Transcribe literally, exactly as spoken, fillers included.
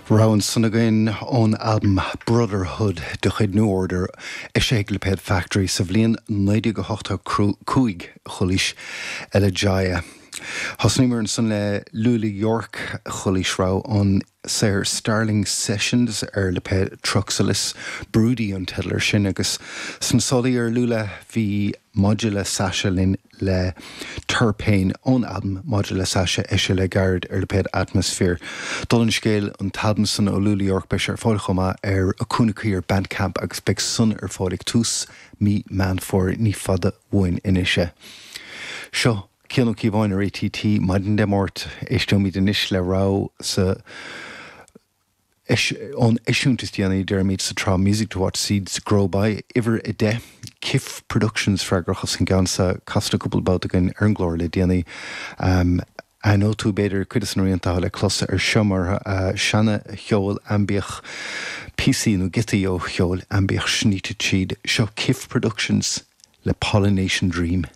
Rogha ansan againn ón albam Brotherhood de chuid New Order eisithe ag lipéad Factory sa bhliain naoi déag a hochtó cúig chualaís Elegia. Thosnaíomar ansan le Lula York chualaís rogha ón saothar Starling Sessions ar lipéad Truxalis Broody an teideal air sin agus sna sálaí ar Lula bhí Modular Sasha linn le Terpane ón albam Modular Sasha eisithe le gairid ar lipéad Atmosphere. Dála an scéil an t-albam san ó Lula York beidh sé ar fáil chomh maith ar Acúnacaí ar Bandcamp agus beidh san ar fáil ag tús mí Meán Fómhair ní fada uainn anois é. Seo Cian Ó Cíobháin ar ATT maidin Dé Máirt éisteoimid anois le rogha sa ón eisiúint is déanaí deirimid sa tsraith Music to Watch Seeds Grow By uimhir a deich Kif Productions freagrach as an gceann seo casta cúpla babhta againn ar an gclár le déanaí. Um, Aithneoidh tú b'fhéidir cuid de na rianta le clos ar seo mar uh, seana-cheol aimbiach píosaí nó giotaí ó cheol aimbiach sníte tríd seo Kif Productions le Pollination Dream.